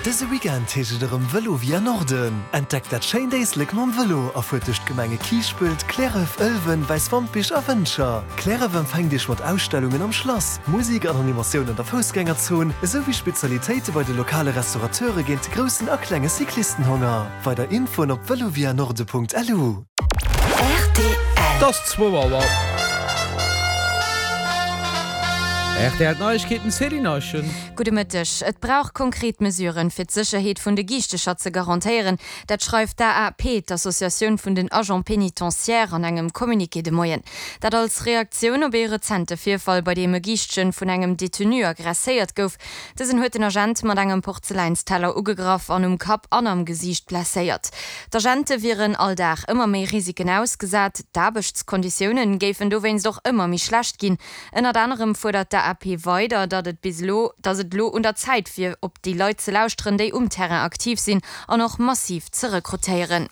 Dëse Weekend heescht et erëm Vëlo via Norden. Entdeckt dat schéint Éislek mam Vëlo a fuert duerch d'Gemenge Kiischpelt, Cliärref, Ëlwen, Wäiswampich a Wëntger. Cliärref empfänkt Iech mat Ausstellungen am Schlass, Musik an Animatioun an der Foussgängerzon, esou wéi Spezialitéite bei de lokale Restaurateure géint de groussen a klenge Cyclistenhonger. Weider Infoen op velovianorde.lu. Rtl. Et ass zwou Auer. Rtl Neiegkeeten, Céline Eischen. Gudde Mëtteg. Et brauch konkret Mesuren, fir d'Sécherheet vun de Giichtecher ze garantéieren. Dat schreift d'AAP, d'Associatioun vun den Agents pénitentiaires, an engem Communiqué de Moien. Dat als Reaktioun op ee rezente Virfall, bei deem e Giischtchen vun engem Detenu aggresséiert gouf. Dësen huet den Agent mat engem Porzeläinsteller ugegraff an um Kapp an am Gesiicht blesséiert. D'Agente wieren all Dag ëmmer méi Risiken ausgesat, d'Aarbechtskonditioune géifen dowéinst och ëmmer méi schlecht ginn. Ënnert anerem fuerdert d'AAP weider, datt et bis elo, datt et elo un der Zäit wier, op déi Leit ze lauschteren, déi um Terrain aktiv sinn an och massiv ze rekrutéieren.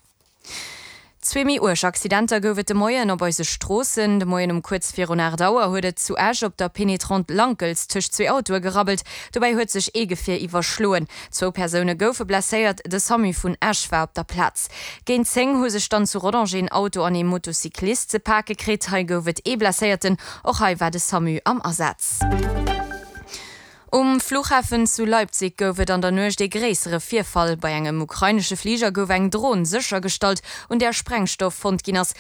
Zwee méi uerg Accidenter gouf et de Moien op eise Stroossen. De Moien um kuerz virun 8 Auer huet et zu Esch op der Pénétrante Lankels tëscht zwee Autoe gerabbelt. Dobäi huet sech ee Gefier iwwerschloen. Zwou Persoune goufe blesséiert, de Samu vun Esch war op der Plaz. Géint 10 hu sech dann zu Rodange een Auto an ee Motocyclist ze pake kritt. Hei gouf et ee Blesséierten, och hei war de Samu am Asaz. Um Flughafen zu Leipzig gouf et an der Nuecht ee gréissere Virfall. Bei engem ukrainesche Fliger gouf eng Dron séchergestallt, un där Sprengstoff fonnt ginn ass.